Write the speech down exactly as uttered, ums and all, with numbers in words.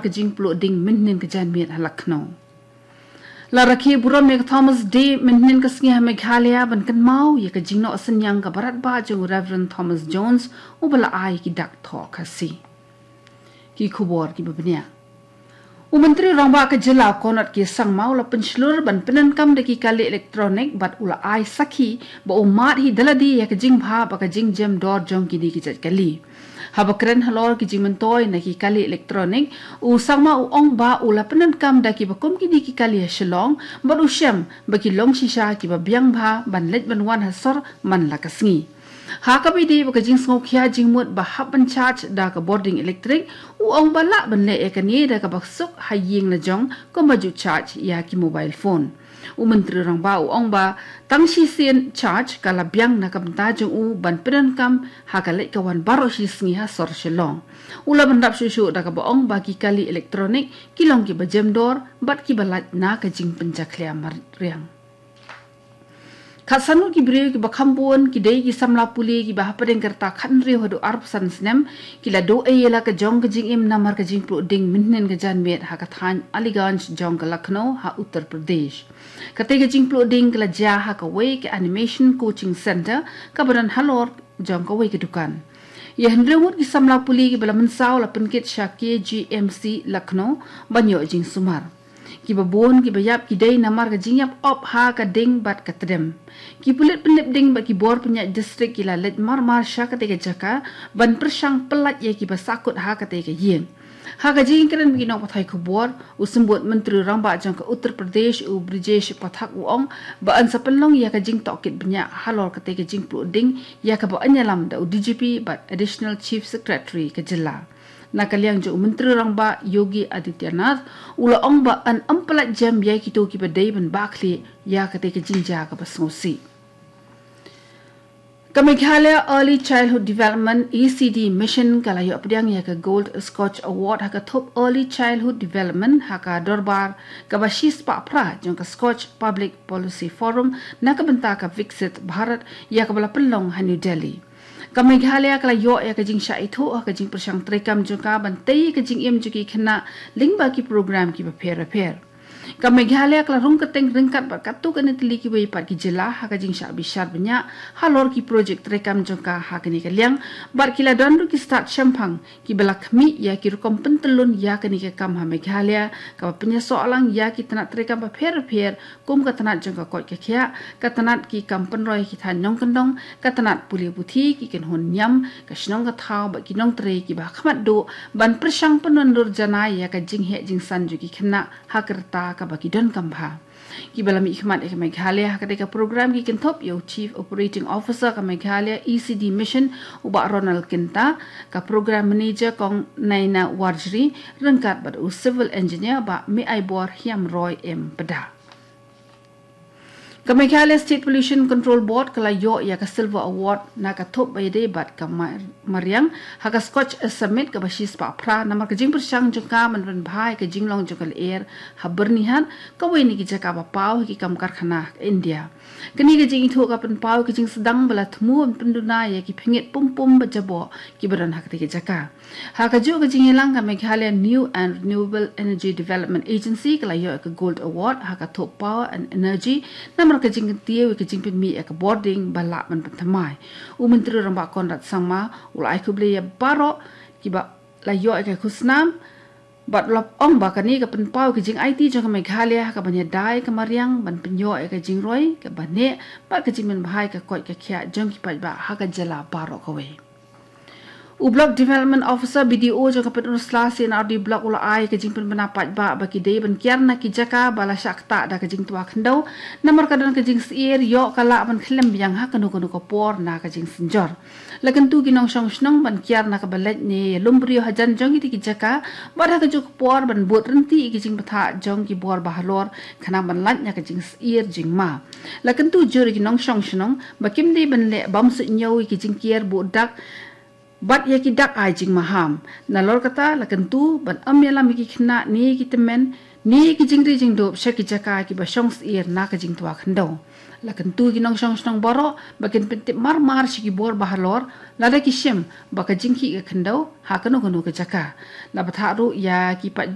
ka jingpluh ding mynhynnin ka janmiet ha Lucknow. La rakhe burom ïa ka Thomas Day mynhynnin ka sngi ha Meghalaya ban kynmaw ïa ka jingnoh synñiang kaba radbah jong u Reverend Thomas Jones, uba la ai ki dak thoh Khasi. Ki khubor kiba bniah. U Myntri Rangbah ka jylla Conrad K Sangma u la pynshlur ban pyndonkam da ki kali electronic bad u la ai sakhi ba u mad hi da lade ïa ka jingbha bad ka jingjem dor jong kine ki jait kali. Haba kren halor ki jingmyntoi na ki kali electronic, u Sangma u ong ba u la pyndonkam da kiba kum kine ki kali ha Shillong bad u shem ba ki long shisha kiba biang bha ban leit ban wan ha sor man la ka sngi. Ha kaba ïadei bad ka jingsngewkhia jingmut ba hap ban charge da ka bording electric, u ong ba lah ban leh ïa kane da kaba suk ha ïing la jong kumba ju charge ïa ki mobile phone. U Myntri Rangbah u ong ba tang shisien charge ka la biang na ka bynta jong u ban pyndonkam ha ka leit ka wan baroh shi sngi ha sor Shillong. U la pyndap shuh shuh da kaba ong ba ki kali electronic ki long kiba jem dor bad kiba lait na ka jingpynjakhlia mariang. Khatsan ngut ki briew kiba kham bun ki dei ki samla pule kiba hapdeng ka rta khathynriew haduh arphew san snem ki la duh ei ïa la ka jong ka jingim namar ka jingpluh ding mynhynnin ka janmiet ha ka thaiñ Aliganj jong ka Lucknow ha Uttar Pradesh. Katei ka jingpluh ding ka la jia ha kawei ka animation coaching center kaba don halor jong kawei ka dukan. Ïa hynriew ngut ki samla pule kiba la mynsaw la pynkit sha K G M C Lucknow ban ïoh jingsumar. Kiba bun kiba ïap ki dei namar ka jingïap op ha ka ding bad ka tdem. Ki pulit pynlip ding bad ki bor pynïaid district ki la leit mar-mar sha katei ka jaka ban pyrshang pyllait ïa kiba sahkut ha katei ka ïing. Ha ka jingkren bad ki nongpathai khubor, u Symbud Myntri Rangbah jong ka Uttar Pradesh, u Brijesh Pathak, u ong ba yn sa pynlong ïa ka jingtohkit bniah halor katei ka jingpluh ding ïa kaba yn ïalam da u D G P bad Additional Chief Secretary ka jylla. Na ka liang jong u Myntri Rangbah Yogi Adityanath, u la ong ba yn ym pyllait jem ïa kito kiba dei ban bah khlieh ïa katei ka jingjia kaba sngewsih. Ka Meghalaya Early Childhood Development, E C D Mission, ka la ïoh pdiang ïa ka Gold Scotch Award ha ka thup Early Childhood Development ha ka dorbar kaba shispah phra jong ka Scotch Public Policy Forum na ka bynta ka Viksit Bharat, ïa kaba la pynlong ha New Delhi. Ka Meghalaya ka la ïoh ïa ka jingshah ithuh ha ka jingpyrshang treikam jong ka ban tei ïa ka jingim jong ki khynnah lyngba ki program kiba pher bapher. Ka Meghalaya ka la rung kyrteng ryngkat bad katto katne tylli kiwei pat ki jylla ha ka jingshah bishar bniah halor ki projek treikam jong ka ha kane ka liang, bad ki la don ruh ki stad shemphang kiba la khmih ïa ki rukom pyntyllun ïa kane ka kam ha Meghalaya, kaba pynïasoh lang ïa ki tnat treikam bapher bapher, kum ka tnat jong ka koit ka khiah, ka tnat ki kam pynroi ki thaiñ nongkyndong, ka tnat pule puthi, ki kynhun niam, ka shnong ka thaw bad ki nongtrei kiba ha khmat duh ban pyrshang pynwandur janai ïa ka jingheh jingsan jong ki khynnah ha ka rta kaba ki donkam bha. Kiba la mihkhmat ïa ka Meghalaya ha katei ka program ki kynthup ïa u Chief Operating Officer ka Meghalaya E C D Mission, u Bah Ronald Kynta, ka Program Manager Kong Naina Warjri, ryngkat bad u Civil Engineer Bah Meaibor Hiamroi M Pda. Ka Meghalaya State Pollution Control Board ka la ïoh ïa ka Silver Award na ka thup ba ïadei bad ka mar-, mariang ha ka Scotch Summit kaba shispah phra namar ka jingpyrshang jong ka ban pynbha ïa ka jinglong jong ka lyer ha Byrnihat, kawei na ki jaka ba paw ha ki kam karkhana ha India. Kane ka jingithuh ka pynpaw ïa ka jingsdang ba la thmu ban pynduna ïa ki pyngngeit pum pum ba jaboh kiba don ha katei ka jaka. Ha kajuh ka jingïalang, ka Meghalaya New and Renewable Energy Development Agency ka la ïoh ïa ka Gold Award ha ka thup Power and Energy namar ka jingkyntiew ïa ka jingpynmih ïa ka bording ba lah ban pynthymmai. U Myntri Rangbah Conrad Sangma u la ai khublei ïa baroh kiba la ïoh ïa ka khusnam bad u la ong ba kane ka pynpaw ïa ka jingaiti jong ka Meghalaya ha kaban ïada ïa ka mariang ban pynïoh ïa ka jingroi kaba neh bad ka jingpynbha ïa ka koit ka khiah jong ki paidbah ha ka jylla baroh kawei. U Block Development Officer, B D O, jong ka Pynursla C and R D Block u la ai ka jingpynbna paidbah ba ki dei ban kiar na ki jaka ba la shah ktah da ka jingtwa khyndew namar ka don ka jingsyier ïoh ka lah ban khlem biang ha kano kano ka por na ka jingsynjor. La kyntu ki nongshong shnong ban kiar na kaba leit ne ïalum briew hajan jong kitei ki jaka bad ha kajuh ka por ban bud ryntih ïa ki jingbthah jong ki bor ba halor khnang ban lait na ka jingsyier jingma. La kyntu jur ïa ki nongshong shnong ba kim dei ban leh bymsuidñiew ïa ki jingkiar buh dak bad ïa ki dak ai jingmaham. Nalor kata, la kyntu ban ym ïalam ïa ki khynnah ne ïa ki tymmen ne ïa ki jingri jingdup sha ki jaka kiba shong syier na ka jingtwa khyndew. La kyntu ïa ki nongshong shnong baroh ba kin pyntip mar mar sha ki bor ba halor lada ki shem ba ka jingkhih ka khyndew ha kano kano ka jaka. La bthah ruh ïa ki paid